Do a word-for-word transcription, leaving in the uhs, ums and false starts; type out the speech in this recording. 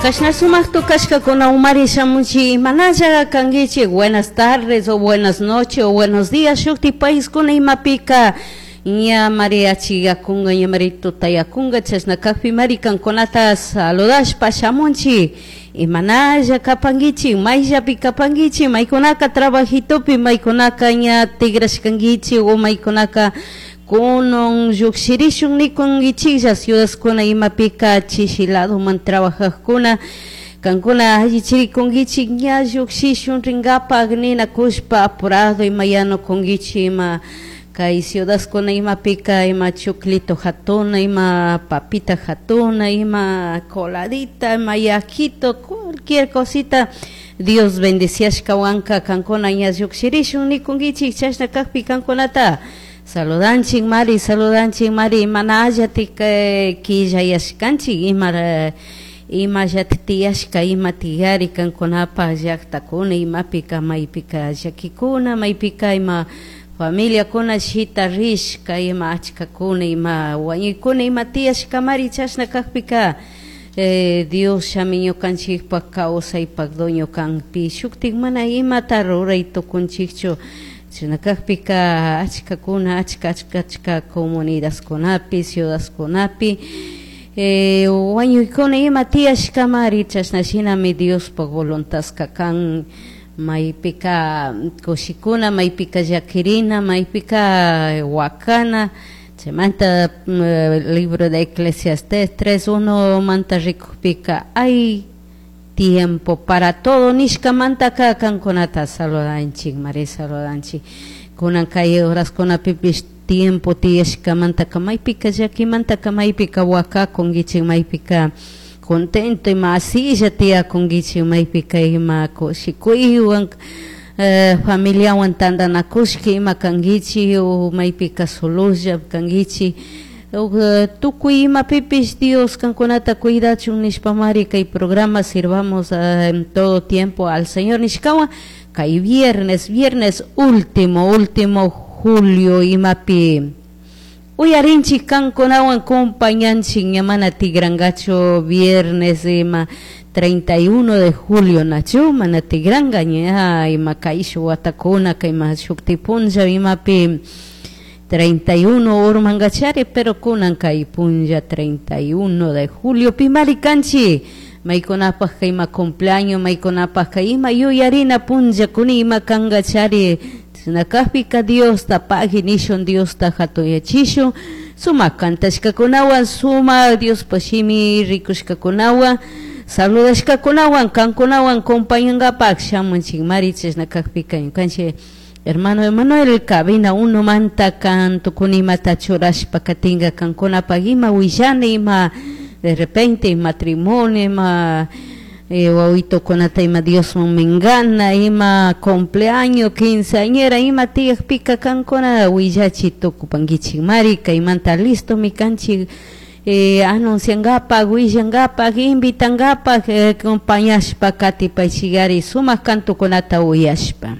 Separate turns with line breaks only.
Kashna sumak tukashkakuna umari shamunchik, imanalla kankichik? Buenas tardes o buenas noches o buenos días shukti paiskuna imapika ña mari achiyakunga, ña mari tutayakunga. Chashna kakpi mari kankunata saludashpa shamunchik. Imanalla kapankichik? Mayllapi kapankichik? Maykunaka trabajitopi, maykunaka ña tigrashkankichik o maykunaka kunan llukshirishun nikunkichiklla ciudadkuna imapika chishi ladoman trabajajkuna, kankuna allichirikunkichik ña llukshishun rinkapak ninakushpa apurado ima yanukunkichik, ima kay ciudadkuna imapika ima chuclito hatuna, ima papita hatuna, ima coladita, ima yakito, cualquier cosita Dios bendiciashkawanka kankuna ña llukshirishun nikunkichik. Chashna kakpi kankunata saludanchik mari, saludanchik mari. Mana allatik killayashkanchik, ima imallata tiyashka, ima tiyari kankunapaj llaktakuna imapika, maypika llakikuna, maypika ima familiakuna shita rishka, ima achkakuna, ima wañuykuna ima tiyashkamari. Chashna kakpika eh, Dios shami ñukanchikpak kawsaypak dueño kanpi, shuktik mana imata ruray tukunchikchu. Chashna kakpika achkakuna, achka achka achka comunidadkunapi, ciudadkunapi eh, wañuykuna ima tiyashkamari. Chashna shinami Diospaj voluntadka kan, maypika kushikuna, maypika llakirina, maypika wakana. Chaymanta libro de Eclesiastes tres uno manta rikukpika hay tiempo para todo nishkamantaka kankunata saludanchik mari, saludanchik. Kunan kay horaskunapipish tiempo tiyashkamantaka maypika llakimantaka maypika wakakunkichik, maypika contento ima asilla tiyakunkichik, maypika ima kushikuywan eh, familiawan tantanakushka ima kankichik o maypika sololla kankichik. Tukuy imapipish Dios kankunata cuidachun nishpamari kay programa Sirvamos en todo tiempo al Señor nishkawan kay viernes, viernes último, último julio imapi uyarinchik kankunawan compañanchik. Ña mana tigrangachu viernes ima treinta y uno de julio nachu mana tigranga ña ima kayshu watakuna kayma shukti punlla imapi treinta y uno urmangachari, pero kunan kay punlla treinta y uno de julio pimari kanchi maykunapaj ima cumpleaños, maykunapaj ima yuyarina punlla kuni ima kangachari. Chasna Diosta pagui nishun, Diosta hatuyachishun sumak kantashkakunawan, sumak Diospa shimi rikushkakunawan, saludashkakunawan, kankunawan compañangapak shamunchik mari. Chashna kakpika ñukanchik hermano Emanuel cabina uno manta kan tukunimata churashpa katinga kankunapaj ima willana, ima de repente matrimonio, ima eh, wawitokunata ima Diosman mingana, ima cumpleaños, quinceañera, ima tiyakpika kankuna willachi tukupankichik mari. Kaymanta listo mi kanchik eh, anunciangapak, willangapak, invitangapak, eh, acompañashpa katipaychikari sumak kantukunata uyashpa.